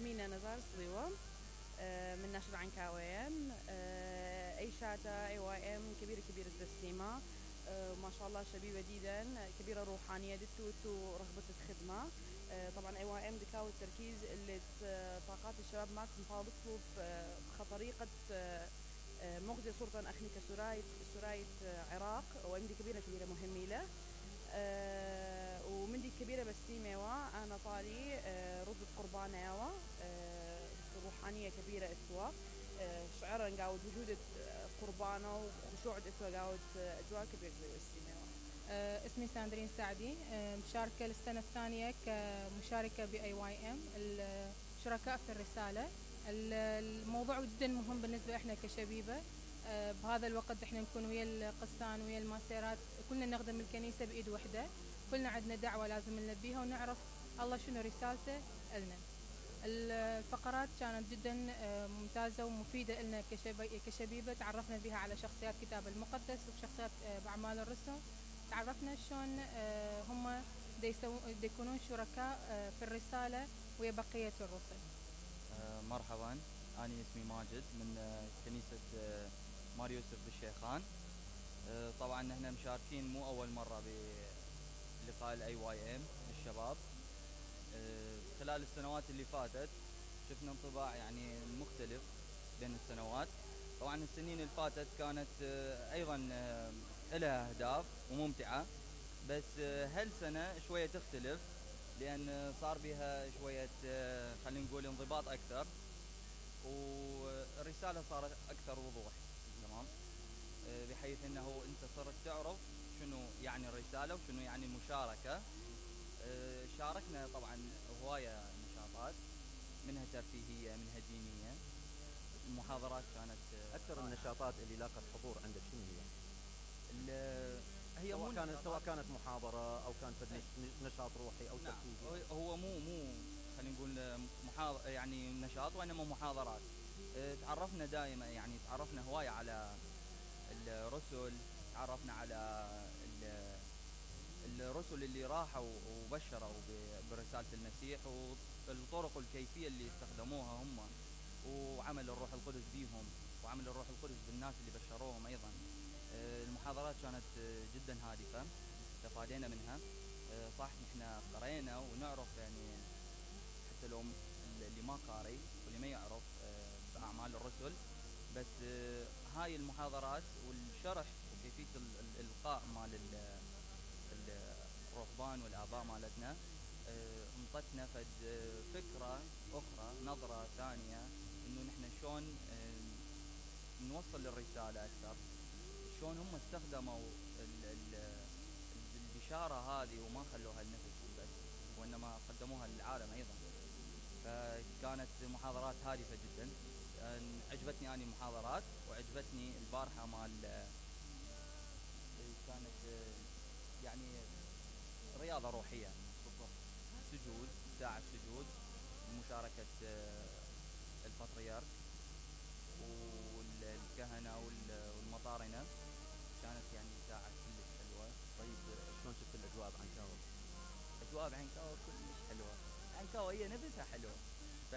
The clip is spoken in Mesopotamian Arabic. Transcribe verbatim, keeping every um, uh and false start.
اسمي نزار صليوة من نشر عنكاوين. أي شاتا أي واي إم كبيرة كبيرة السيما، ما شاء الله شبيبة جدا كبيرة روحانية دتو تو رغبة الخدمة. طبعا أي واي إم دكاو التركيز اللي طاقات الشباب ماكس مفاوض تطلب خطريقة مغزية صورة أخني كسراية سراية عراق وإمدي كبيرة كبيرة مهمة له. أه ومندي كبيرة بسيمة وا أنا طالي أه رد قربانة يوا أه روحانية كبيرة إثوا أه شعرا نقاود وجود قربانة وخشوع إثوا قاود أجواء كبيرة بسيمة وا. أه اسمي ساندرين سعدي، أه مشاركة للسنة الثانية كمشاركة بأي واي إم الشركاء في الرسالة. الموضوع جدا مهم بالنسبة إحنا كشبيبة. أه بهذا الوقت إحنا نكون ويا القسان ويا الماسيرات كلنا نخدم الكنيسة بإيد وحدة، كلنا عندنا دعوة لازم نلبيها ونعرف الله شنو رسالته لنا. الفقرات كانت جدا ممتازة ومفيدة لنا كشبيبة، تعرفنا بها على شخصيات كتاب المقدس وشخصيات بأعمال الرسل، تعرفنا شلون هم يكونون شركاء في الرسالة ويا بقية الرسل. مرحبا، أنا اسمي ماجد من كنيسة مار يوسف بالشيخان. طبعا نحن مشاركين مو أول مرة بلقاء الأي واي إم للشباب. خلال السنوات اللي فاتت شفنا انطباع يعني مختلف بين السنوات. طبعا السنين اللي فاتت كانت أيضا لها أهداف وممتعة، بس هالسنة شوية تختلف لأن صار بها شوية خلينا نقول انضباط أكثر، والرسالة صارت أكثر وضوح. تمام، بحيث أنه أنت صرت تعرف شنو يعني الرسالة وشنو يعني المشاركة. شاركنا طبعا هواية نشاطات، منها ترفيهية منها دينية. المحاضرات كانت أكثر النشاطات اللي لاقت حضور عندك شنو هي؟ هي سواء كانت سواء كانت محاضرة أو كانت نشاط روحي أو نعم. ترفيهي. هو مو مو خلينا نقول محاضر يعني نشاط، وإنما محاضرات. تعرفنا دائما يعني تعرفنا هواية على الرسل، تعرفنا على الرسل اللي راحوا وبشروا برسالة المسيح والطرق الكيفية اللي استخدموها هم، وعمل الروح القدس بيهم وعمل الروح القدس بالناس اللي بشروهم أيضا. المحاضرات كانت جدا هادفة، استفادنا منها. صح نحن قرينا ونعرف يعني حتى لو اللي ما قاري واللي ما يعرف بأعمال الرسل، بس هاي المحاضرات والشرح وكيفية الإلقاء مال الرهبان والآباء مالتنا انطتنا فد فكرة أخرى، نظرة ثانية إنه نحن شلون نوصل الرسالة أكثر، شلون هم استخدموا البشارة هذه وما خلوها لنفسهم بس وإنما قدموها للعالم أيضا. فكانت محاضرات هادفة جدا. عجبتني أنا المحاضرات، وعجبتني البارحة مال كانت يعني رياضة روحية بالضبط، سجود، ساعة سجود، مشاركة البطريرك والكهنة والمطارنة. كانت يعني ساعة كلش حلوة. طيب شلون شفت الأجواء بعنكاوة؟ أجواء بعنكاوة كلش حلوة. عنكاوة هي نفسها حلوة. ف